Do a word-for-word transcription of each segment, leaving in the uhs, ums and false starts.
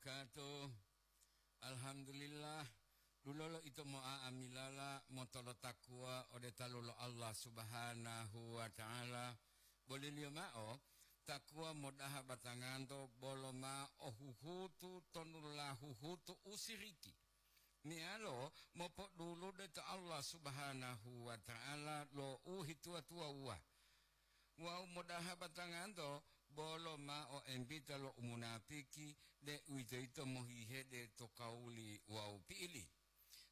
Wabarakatuh. Alhamdulillah, dulolo ito mo'a'amilala motolotakuwa ode talu lo Allah Subhanahu wa Ta'ala, boliliyo mao takuwa modaha batanganto bolo ma ohuhutu tonula huhutu usiriki, meyalo mopodulude to Allah Subhanahu wa Ta'ala lo uhituwa-tuwawuwa. Wawu modaha batanganto bolo mao embita lo umunapiki, deuwitoyito mohihede to kawuli wawu pi'ili.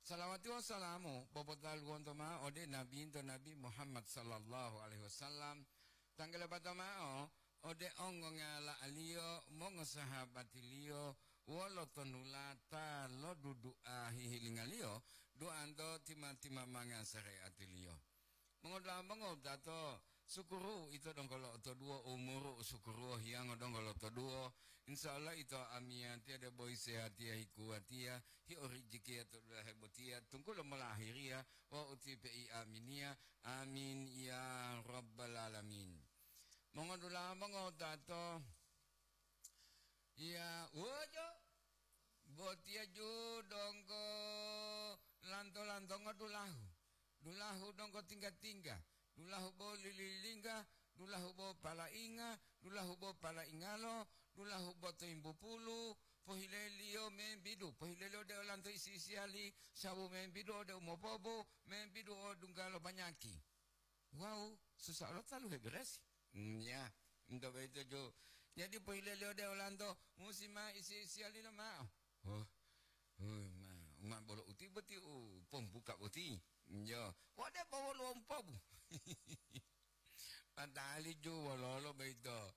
Salawati wawu salamu popotaluwonto mao ode Nabinto Nabi Muhammad sallallahu alaihi wasallam, tanggele bato mao ode ongongala'aliyo, mongosahabatiliyo, wolo tonulata lo dudu'a hihilingaliyo, duanto tima-timamanga sare'atiliyo. Mongodula'a mongowutato, sukuru ito donggo lo'otoduwo, umuru u sukuru hiyango donggo lo'otoduwo. Insya Allah ito amiyatiya debo isehatiya hikuwatiya, hiorijikiya to dulahe botiya, tunggulo molahiriya, wawu utipe'i aminiya. Amin ya rabbal alamin. Mongodula'a mongowutato, iya, wojo, botiya ju donggo lanto-lantongo dulahu. Dulahu donggo tingga-tingga, dulahu bo lililingga, dulahu bo palainga, dulahu bo palaingalo, dulahu bo toimbupulu, pohileliyo membidu, pohileliyo ode olanto isi-isiyali, sabu membidu ode umopobu, membidu o dunggalo banyaki. Wawu susa olo talu heberesi. Hmm, ya, ento boyito ju. Jadi pohileliyo ode olanto, musi ma isi-isiyalilo mao. Oh, oh, ma, ma bolo uti boti u pombuka boti. Yo, wode bo woluwo umpobu. Padahali ju wololo boyito.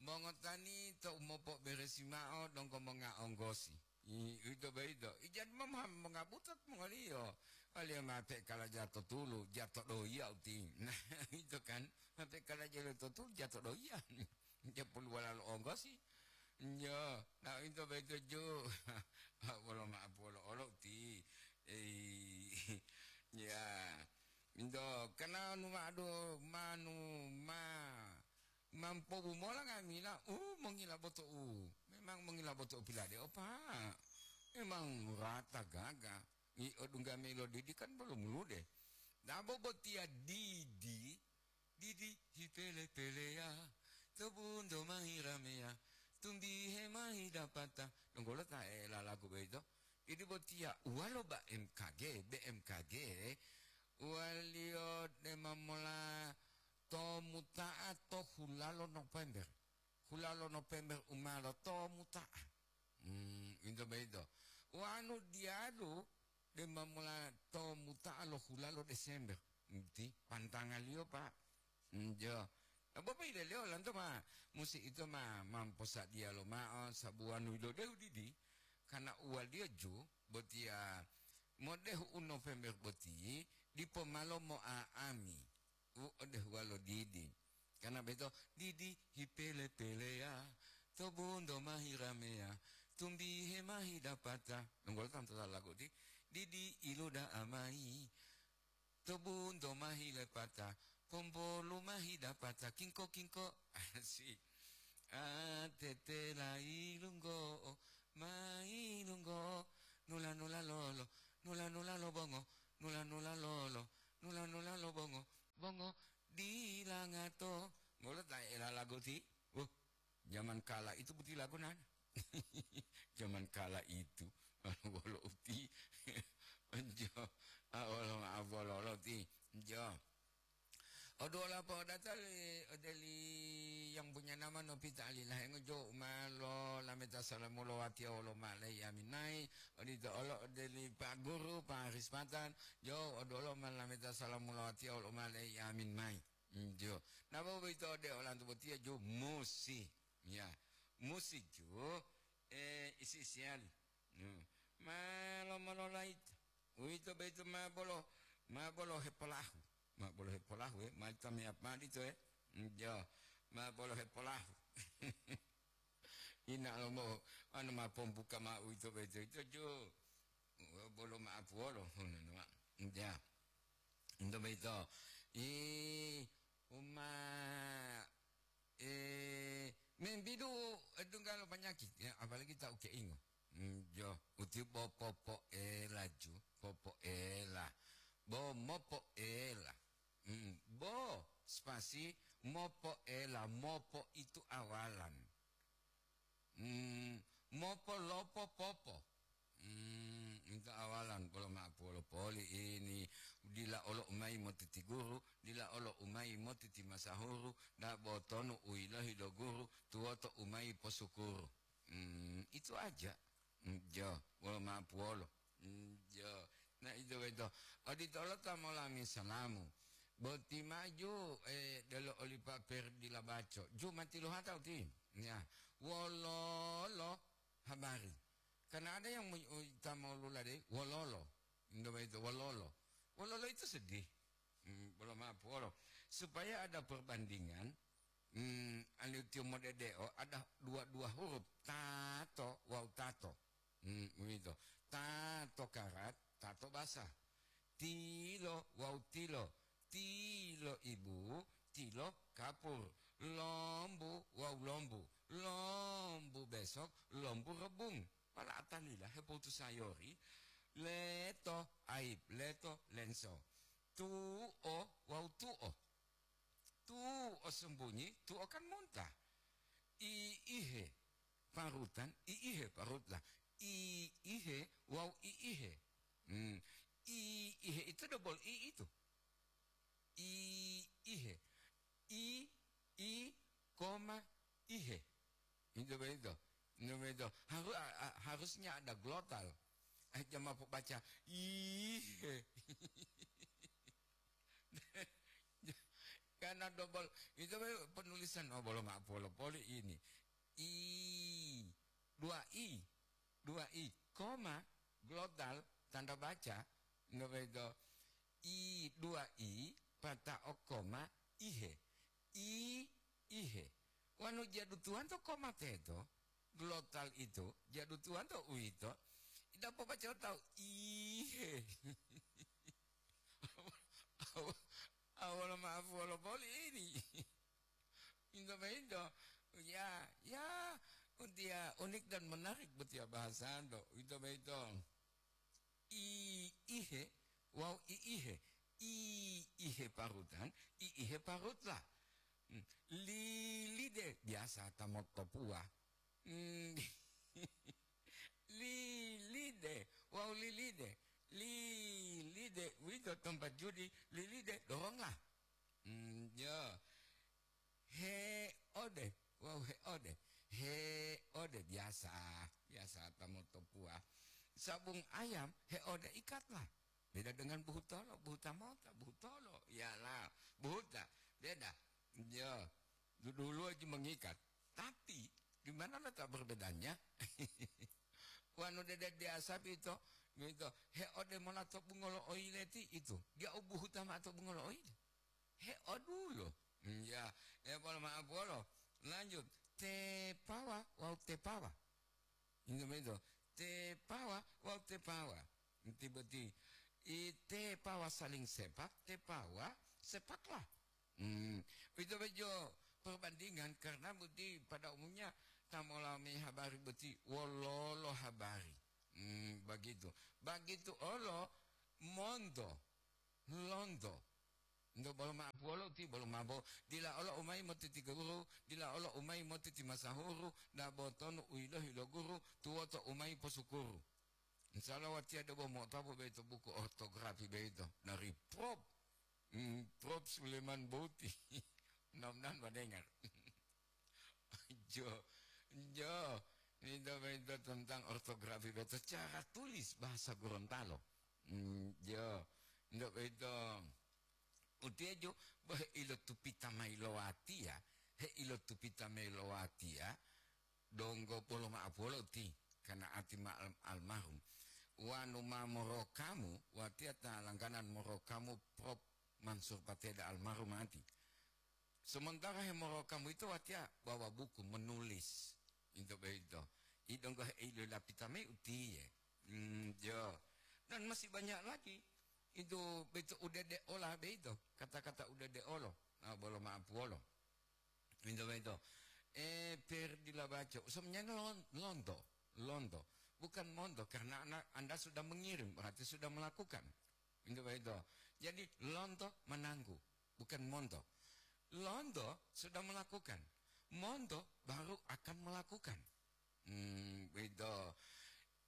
Mongotani to umopoberesi mao donggo monga onggosi. I, ito boyito. Ijani ma mongabuto mongoliyo. Waliyo ma pekala jato tulu, jato doya uti. Nah, ito kan, ma pekala jato tulu, jato doya. Japulu walalo onggosi. Njo, na into boyito ju. Wolo ma'apu wolo olo uti. Ei, ya. Into, kana nu ma'adu, manu, ma, mampobu mola nga'amila, u, mongila boto'u. Memang mongila boto'u pilade opa. Memang rata gaga. I odungga mayi lo didi kan bolo mulude. Dabo botiya didi, didi hipele-peleya, to bunto ma hirameya, tumbihe ma hidapata. Donggo lo ta elalagu boyito. Didi botiya uwalo ba M K G, B M K G, uwaliyo dema mola to muta'a to hulalo November. Hulalo November u ma lotomu ta'a. Hmm, into boyito. Wanu diyalu dema mola tomu ta'a lo hulalo Desember. Nti, pantangaliyo, Pak. Njo. Bobo ileliyo lanto ma, musi ito ma, mamposadiya lomao sabu wanu ilodehu didi, karena uwaliyo ju botiya modehu u November boti, dipo malo mo'a'ami. U odehuwa lo didi. Kana beto, didi hipele-peleya, to bunto ma hirameya, tumbihe ma hidapata. Nunggolo tantu lagu di, didi iluda amai, to bunto ma hilepata, pompolu ma hidapata, kingko-kingko. Asik. A tete lai lunggo, mai lunggo, nula-nula lolo, nula-nula lo bongo, nula-nula lolo, nula-nula lo bongo, bongo, Dila ngato. Ngolo ta ela lagu ti. Uh, zaman kala itu boti lagu nana. Zaman kala itu. Wolo uti. Enjo. Ah, wolo maaf, wolo, wolo ti. Enjo. Oduwola po'odata li, ode li yang punya nama Novita Alilah, engo jo ma lo lameta salamu lo watiya wolo ma lai amin mai. Odito olo ode li Pak Guru, Pak Haris Patan. Jo, oduwolo ma lameta salamu lo watiya wolo ma lai amin mai. Njo. Napa boyito ode olanto botiya ju musi. Ya. Musi ju, eh, isi-isiyali. Hmm. Ma lomololayita. Uwito boyito ma bolo, ma bolo hepolahu. Ma bolo hepolahu, eh. Ma tamiyapali to, eh. Njo. Ma bolo hepolahu. Ina lomo, anu ma pombuka ma uwito boyito. Ito ju. Bolo ma'apu wolo, ngono, Pak. Ya. Ento boyito. I, uma, eh, membidu, eh, tunggalo panyakit, ya, apalagi ta ukeingo. Ti bo popoela ju, popoela. Bo mopoela. Mm, bo spasi mopoela, mopo itu awalan. Mm, mopo lopo popo. Mm, itu awalan, polo ma'apuwolo poli ini, dila olo umayi motiti guru, dila olo umayi motiti masahuru, da botonu u yilohi lo guru, tuwoto umayi posukuru. Mm, itu aja. Mm, jo, polo ma'apuwolo. Mm, jo. Na, ito boyito. Odito olo ta molami salamu. Boti maju, eh, delo oli Pa Perdi Labaco. Ju matiluhata uti. Ya. Wololo habari. Karena ada yang mu-, u-, ta molulade, wololo. Indo boyito, wololo. Wololo itu sedih. Hmm, bolo maaf, wolo. Supaya ada perbandingan, hmm, aliu tiyo modedeo ada dua-dua huruf, tato wawu tato. Hmm, uwito. Tato karat, tato basah. Tilo wawu tilo. Tilo ibu, tilo kapur. Lombu wawu lombu. Lombu besok, lombu rebung. Pala atalila hepotu sayori, leto aib, leto lenso. Tuo wawu tuo. Tuo sembunyi, tuo kan muntah. I ihe parutan, i ihe parutlah. I ihe wawu i ihe. Hmm. I ihe itu double i itu. I ihe. I, i, koma, ihe. Itu begitu. Itu begitu. Haru-, a-, a-, harusnya ada glotal. Eh, jangan mau baca ihe. Karena double. Itu be-, penulisan, oh, bolo maaf, polo poli ini. I, dua i, dua i, koma, glotal, tanda baca, nggak begitu. I, dua i, pata'o koma, ihe. I, ihe. Wanu jadu tuwanto koma teto, glotal itu, jadu tuwanto uwito, ita pobaca tahu, ihe. Aw-, aw-, awal maaf wala poli ini. Into boyito, ya, ya, utiya unik dan menarik botiya bahasando, into boyito. I ihe wawu i ihe. I ihe parutan, i ihe parutlah. Hmm, lilide, biasa ta motopuwa. Hmm, lilide wawu lilide. Lilide, uwito tempat judi, lilide, doronglah. Hmm, ya. Heode. Wawu heode. Heode biasa. Biasa ta motopuwa. Sabung ayam, heode ikatlah. Beda dengan buhutolo, buhuta mota, buhutolo. Iyalah, buhuta. Beda. Ya, du-, dulu aja mengikat. Tapi, di mana letak perbedaannya? Wanu dede biasa pito, mito, heode mola to bungolo oile ti itu. Dia ubuhuta ma to bungolo oile. He odulo. Hmm, ya, ya, polo maaf, polo. Lanjut. Tepawa wawu tepawa. Ingat begitu. Tepawa wawu tepawa. Inti boti. I tepawa saling sepak, tepawa sepaklah. Hmm, itu bejo perbandingan karena boti pada umumnya ta molami habari boti wololo habari. Hmm, begitu. Begitu olo monto, lonto. Ndo bolo ma'apuwolo ti bolo mabo, dila olo umayi motiti guru, dila olo umayi motiti masahuru, dabo tonu u yilohi lo guru, tuwoto umayi posukuru. Insya Allah watiya debo mo'otapu boyito buku ortografi boyito dari Prof, hmm, Prof Suleman Boti. Mudah-mudahan mendengar. Jo, jo, minta-minta tentang ortografi boyito, cara tulis bahasa Gorontalo. Hmm, jo, ndak boyito. Utiya jo, bo heilotupita mayi lo watiya, heilotupita mayi lo watiya, donggo polo ma'apuwolo uti, kana ati ma al-, almarhum. Wanu ma morokamu, watiya ta langganan morokamu Prof Mansur Pateda almarhum ati. Sementara hemorokamu ito watiya bawa buku menulis. Into boyito. I donggo heilolapita mayi utiye. Hmm, jo. Dan masih banyak lagi. Itu beito udede ola beito. Kata-kata udede olo. Nah, bolo ma'apuwolo. Into boyito. Eh, Perdi Labaco. Sebenarnya lon-, lonto. Lonto. Bukan monto, karena Anda, Anda sudah mengirim, berarti sudah melakukan. Itu begitu. Jadi, lonto menanggu, bukan monto. Lonto sudah melakukan, monto baru akan melakukan. Hmm, begitu.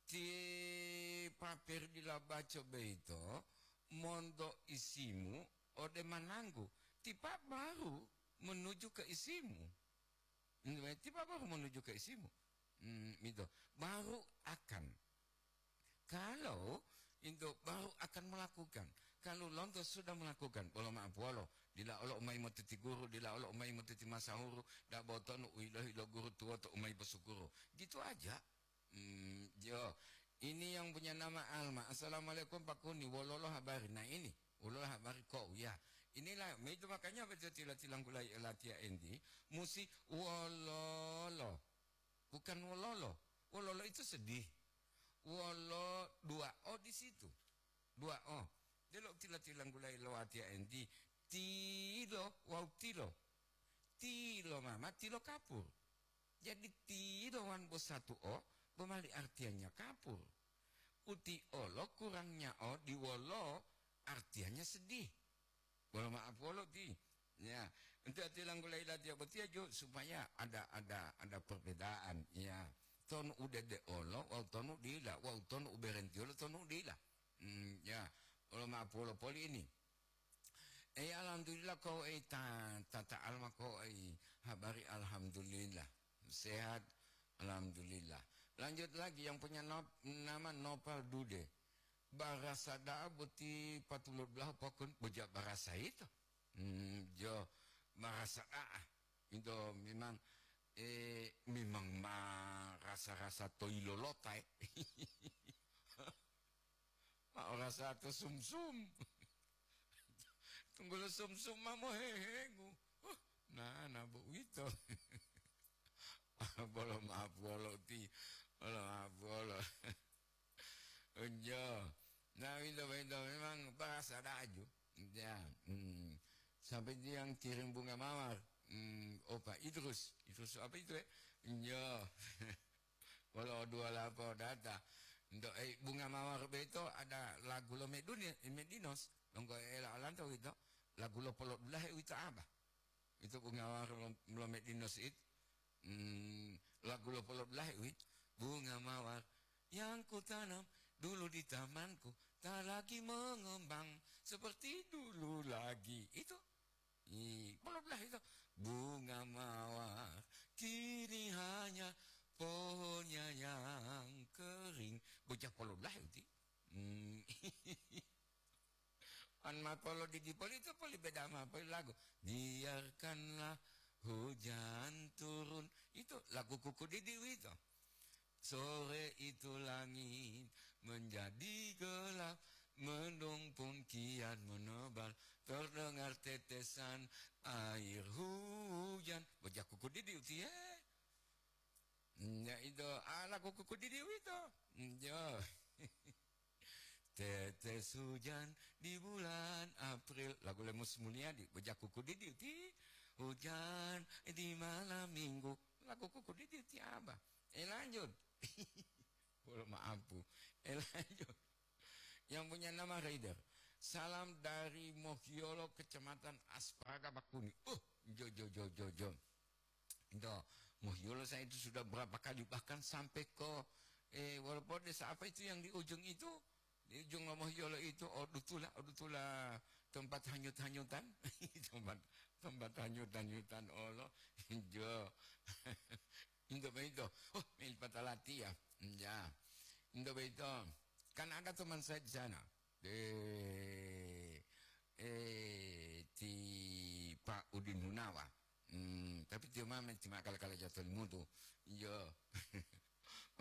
Ti papir dila baco beito, monto isimu ode mananggu, tipa baru menuju ke isimu. Hmm, tipa baru menuju ke isimu. Hmm, gitu. Baru akan. Kalau itu baru akan melakukan. Kalau lonto sudah melakukan, bolo maaf wolo, dila olo umai motiti guru, dila olo umai motiti masahuru, dabo tonu uilohi lo guru tuwoto umai posukuru. Gitu aja. Hmm, yo. Ini yang punya nama Alma. "Assalamualaikum, Pak Kuni. Wololo habari?" Nah, ini. Wololo habari kok, ya. Inilah, itu makanya betul tila-tilanggulai latiya enti. Musi wololo. Bukan wololo. Wololo itu sedih. Wolo dua O di situ. Dua O. Delo tila-tilanggulai lo latiya enti. Tilo, wau tilo. Tilo mama, tilo kapur. Jadi, tilo wan bo satu O, bo mali artinya kapur. Uti olo kurangnya O di wolo, artinya sedih. Bolo maaf wolo ti. Ya, untuk ati langgulai latiya botiya jo, supaya ada, ada, ada perbedaan. Ya, tonu udede olo, wau tonu dila, wau tonu uberenti olo, tonu dila. Hmm, ya, bolo maaf wolo poli ini. Eh, alhamdulillah, ko ei ta, ta, ta alma ko ei habari, alhamdulillah. Sehat, alhamdulillah. Lanjut lagi, yang punya nop-, nama Nopal Dude. Barasa da'a boti patulod belahu pokon, boja barasa ito. Hmm, jo, barasa da'a. Ito memang, eh, memang ma rasa-rasa toilolota, eh. Ma o rasa to sumsum. Tunggulo sumsum ma mohehengu. Huh, na, na bo uwito. Bolo maaf wolo ti, bolo maaf wolo. Unjo. Nah, winto, winto memang bahasa daju. Ya, hmm. Sampai dia yang kirim bunga mawar. Hmm, oh, Pak Idrus. Idrus apa itu, eh? Unjo. Wolo dua lapo data. Ento, eh, bunga mawar beto ada lagu lo Meduni-, Medinos. Donggo ela alanto wito. Lagu lo polodulahe wito apa? Itu bunga mawar lo, lo Medinos it. Hmm, lagu lo polodulahe wi. Bunga mawar yang kutanam dulu di tamanku tak lagi mengembang seperti dulu lagi. Itu. Ih, polodulah itu. Bunga mawar kini hanya pohonnya yang kering. Bocah polodulah itu. Hmm. An ma polo didi poli itu poli beda ma poli lagu. Biarkanlah hujan turun. Itu lagu kuku didi itu. Sore itu langit menjadi gelap, mendung pun kian menebal, terdengar tetesan air hujan. Bocah kuku didi uti, eh. Ya, itu, ala kuku didi itu. Ya. Tetes hujan di bulan April. Lagu Lemus Mulyadi, bocah kuku didi uti. Hujan di malam minggu. Lagu kuku didi uti apa? Eh, lanjut. Bolo maaf, Bu. Eh, lanjut. Yang punya nama Raider. Salam dari Mohyolo, Kecamatan Asparaga, Bakuni. Uh, jo, jo, jo, jo, jo. Itu, Mohyolo saya itu sudah berapa kali, bahkan sampai ke, eh, walaupun desa apa itu yang di ujung itu, di ujung Mohyolo itu, Odutula, Odutula tempat hanyut-hanyutan. Tempat, tempat hanyut-hanyutan, olo. Jo. Indo beito. Oh, main patalatia. Ya. Indo beito. Kan ada teman saya di sana. Eh, eh, ti Pak Udin Hunawa. Hmm, tapi tiyo ma, ti ma kala-kala jato limutu. Iyo.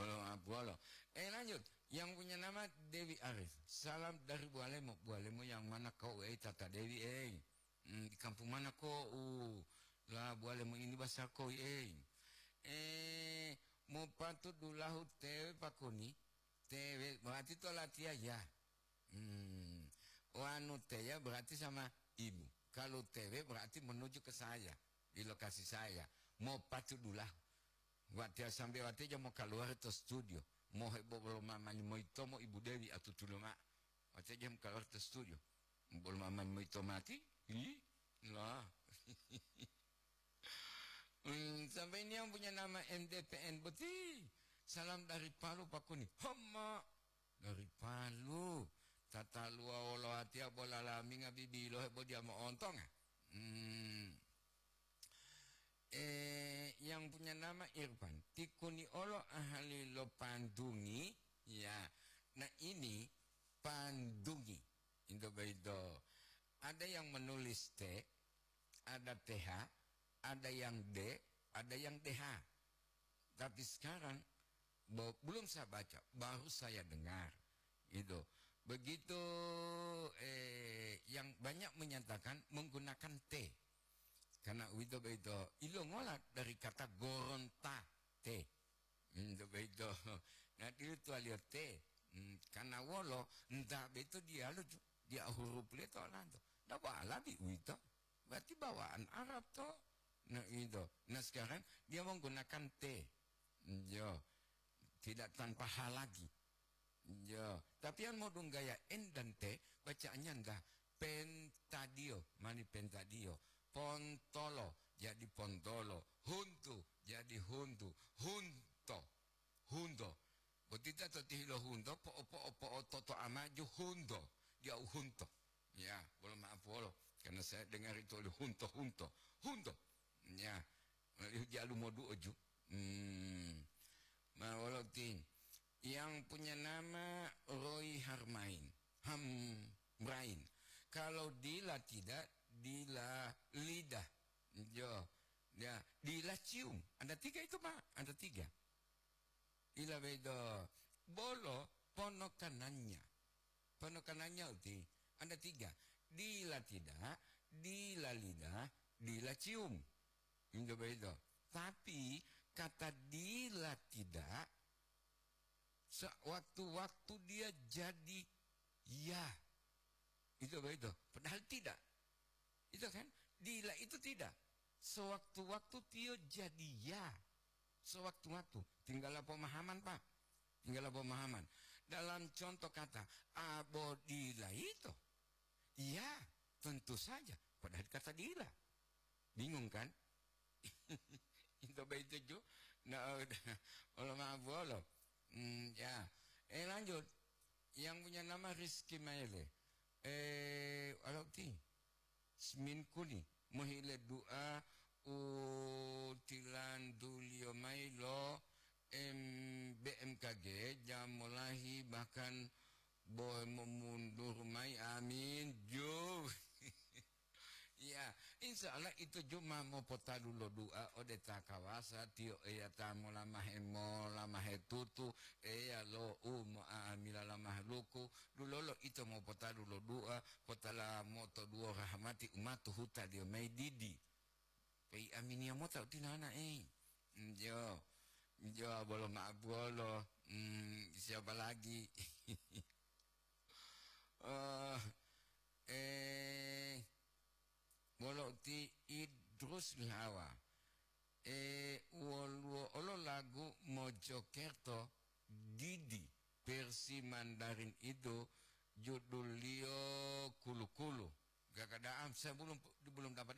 Olo, ah, bualo. Eh, lanjut. Yang punya nama Dewi Arif. Salam dari Bualemo. Bualemo yang mana kau, eh, Tata Dewi, eh? Hmm, di kampung mana kau? La, Bualemo ini bahasa kau, eh? Eh, mau patut dulahu tewe pakoni? Tewe, berarti to latiya ya. Hmm. Wanu teya berarti sama ibu. Kalau tewe berarti menuju ke saya, di lokasi saya. Mau patu dula. Watiya sambe watiya mo kaluar to studio. Mohe bolo mamani moyitomo Ibu Dewi atutulo ma'o. Watiya jam kalawar to studio. Bolo mamani moyito mati? Hi? Lah. Hmm, sampai ini yang punya nama M D P N boti. Salam dari Palu, Pak Kuni. Hama. Dari Palu. Tataluwa wolo watiya bola laminga bibilo hebo dia mo'ontonga. Hmm. Eh, yang punya nama Irfan. Tikuni olo ahali lo pandungi. Ya. Nah, ini pandungi. Itu begitu. Ada yang menulis T, ada T H, ada yang D, ada yang D H. Tapi sekarang bo-, belum saya baca, baru saya dengar. Gitu. Begitu, eh, yang banyak menyatakan menggunakan T. Karena uwito boyito ilongola dari kata Goronta T. Uwito boyito. Nah, dilutuwaliyo T. Hmm, karena wolo, nta boyito diyalu ju-, dia huruf leto lanto. Ndak bo Arabi uwito. Berarti bawaan Arab to. Nah, itu. Nah, sekarang dia menggunakan T. Yo. Tidak tanpa H lagi. Yo. Tapi yang mau dunggaya N dan T, bacaannya ndah. Pentadio, mani pentadio. Pontolo, jadi pontolo. Huntu, jadi huntu. Hunto. Hunto. Botita to tihilo hunto, po'o-po'o, po'o toto amaju hunto. Dia u hunto. Ya, bolo maaf wolo. Karena saya dengar itu oli hunto, hunto. Hunto. Ya. Jalu modu oju. Hmm. Ma wolo ti. Yang punya nama Roy Harmain. Hamrain. Kalau dila tidak, dila lidah. Jo. Ya, dila cium. Ada tiga itu, Pak. Ada tiga. Ila bedo. Bolo ponokanannya. Ponokanannya uti. Ada tiga. Dila tidak, dila lidah, dila cium. Itu begitu. Tapi kata dila tidak, sewaktu-waktu dia jadi ya. Itu begitu. Padahal tidak. Itu kan? Dila itu tidak. Sewaktu-waktu tio jadi ya. Sewaktu-waktu. Tinggal pemahaman, Pak. Tinggal pemahaman. Dalam contoh kata, abodila itu. Ya, tentu saja. Padahal kata dila. Bingung kan? Itu begitu ju. Nah, udah. Olo maaf, olo. Hmm, ya. Eh, lanjut. Yang punya nama Rizky Maele. Eh, alo ti. Smin kuni. Mohile dua u tilanduliyo mayi lo M-, B M K G, jam molahi bahkan bohe momundur mayi. Amin. Ju. Iya, insya Allah itu ju ma mopotalu lo dua ode ta kawasa, tiyo Eya ta molamahe, molamahe tutu, Eya lo u mo'amila la mahaluku, dulolo ito mopotalu lo dua, potala moto duwo rahmati umatu hutaliyo mayi didi. Pei aminiya mota utinana, eh. Njo, njo bolo ma'abuwolo. Hmm, siapa lagi? Eh, eh, wolo uti Idrus Lihawa. Eh, woluwo olo lagu Mojokerto didi versi Mandarin itu, judulliyo Kulu-Kulu. Gak ada, ah, saya belum, belum dapat